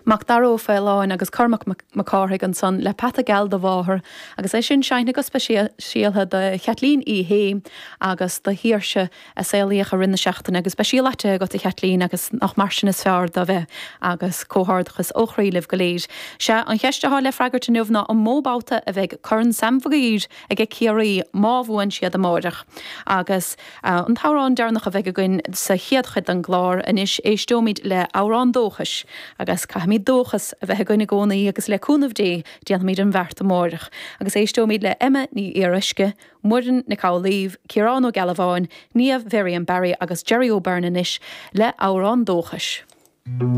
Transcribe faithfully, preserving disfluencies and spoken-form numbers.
Macdara Ó Faoláin agus Cormac Mac Cárthaigh ansan le Peata Geal do Mháthair agus é sin seinnte go speisialta do Chaitlín Uí Shé agus do Shaoirse a saolaíodh i rith na seachtaine agus beidh sí leáite agat a Chaitlín agus nach mar sin is fearr do bheith agus comhghairdeachas ó chroí libh go léir. Sé an cheist atá le freagairt inniu ná an mó babhta a bheidh Corn Sam Mhig Uidhir ag Ciarraí má bhuann siad amárach. Agus uh, an t-amhrán deireanach a bheidh againn sa chéad chuid den gclár anois éisteoimid le amhrán dóchais agus caithfimid dóchas a bheith againn i gcónaí agus le cúnamh Dé déanfaimid an bheart amárach. Agus éisteoimid le Emma Ní Fhíoruisce, Muireann Nic Amhlaoibh, Ciarán Ó Gealbháin, Niamh Miriam Barry agus Jerry O'Byrne anois le amhrán dóchais.